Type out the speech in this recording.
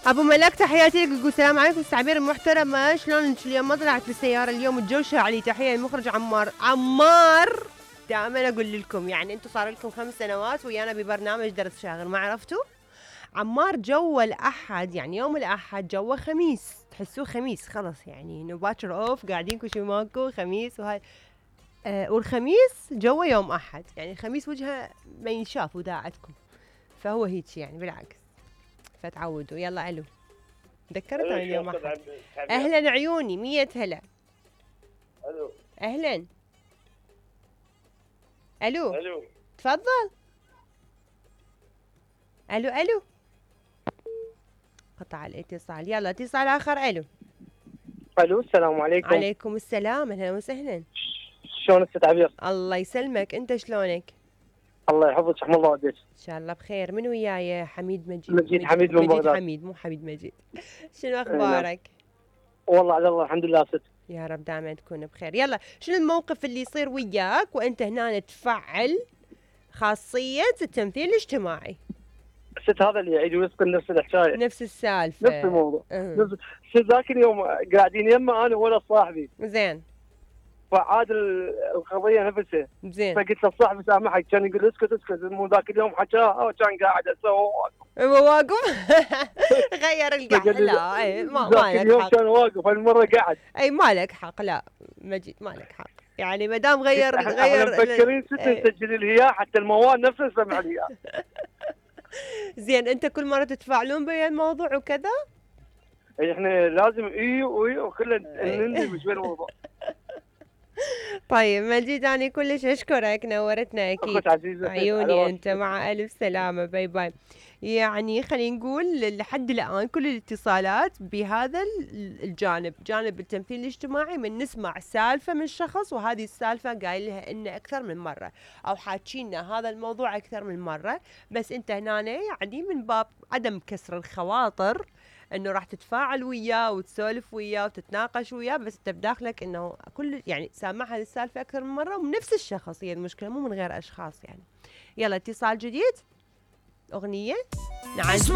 ابو ملاك تحياتي لك، يقول السلام عليكم التعبير المحترمه، شلونك اليوم؟ ما طلعت بالسياره اليوم، الجو شاعلي. تحيه المخرج عمار. دائما اقول لكم يعني انتم صار لكم 5 سنوات ويانا ببرنامج درس شاغر، ما عرفتوا؟ عمار جو الأحد، يعني يوم الأحد جوه خميس، تحسوه خميس خلص، يعني انه باكر اوف قاعدين كل شيء ماكو خميس وهاي. والخميس جوه يوم أحد، يعني الخميس وجهه ما ينشاف وداعتكم، فهو هيك يعني بالعكس، فتعودوا. يلا الو، ذكرت عن يوم أحد. اهلا عيوني، 100 هلا. الو اهلا. الو الو تفضل. الو قطع الاتصال. يلا اتصال اخر. الو السلام عليكم. عليكم السلام، اهلا وسهلا. شلونك ست عبير؟ الله يسلمك، انت شلونك؟ الله يحفظك، احمد الله وديك. ان شاء الله بخير. من وياي؟ حميد مجيد. مجيد حميد من بغداد. حميد مو حميد مجيد. شنو اخبارك؟ والله على الله الحمد لله ست. يا رب دائما تكون بخير. يلا شنو الموقف اللي يصير وياك وانت هنا تفعل خاصية التمثيل الاجتماعي؟ ست هذا اللي يعيد ويسقط نفس الحكايه، نفس السالفة، نفس الموضوع. ست ذاك اليوم قاعدين يمه انا ولا صاحبي، زين، فعاد القضيه نفسها. زين، فقلت له صاحبي سامحك، كان يقول اسكت مو ذاك اليوم حكاها وكان قاعد اسوي هو واقف. غير القعده. لا اي ما ذاك لك اليوم حق. كان واقف، هالمره قاعد. اي ما لك حق، لا مجيد ما لك حق، يعني ما دام غير احنا مفكرين ست نسجل لي اياه حتى الموال نفسه نسمع لي اياه. زين، انت كل مره تتفاعلون بهذا الموضوع وكذا؟ احنا لازم وكله نندمج بين الموضوع. طيب مجيد، أنا كلش أشكرك، نورتنا أكيد. أخت عزيزة، عيوني أنت، مع ألف سلامة، باي باي. يعني خلينا نقول لحد الآن كل الاتصالات بهذا الجانب، جانب التمثيل الاجتماعي، من نسمع سالفة من شخص وهذه السالفة قايل لها إنه أكثر من مرة، أو حاكينا هذا الموضوع أكثر من مرة، بس أنت هنا يعني من باب عدم كسر الخواطر انه راح تتفاعل وياه وتسولف وياه وتتناقش وياه، بس انت بداخلك انه كل يعني سامعها السالفه اكثر من مره ومن نفس الشخص، هي المشكله مو من غير اشخاص يعني. يلا اتصال جديد، اغنيه نعزل.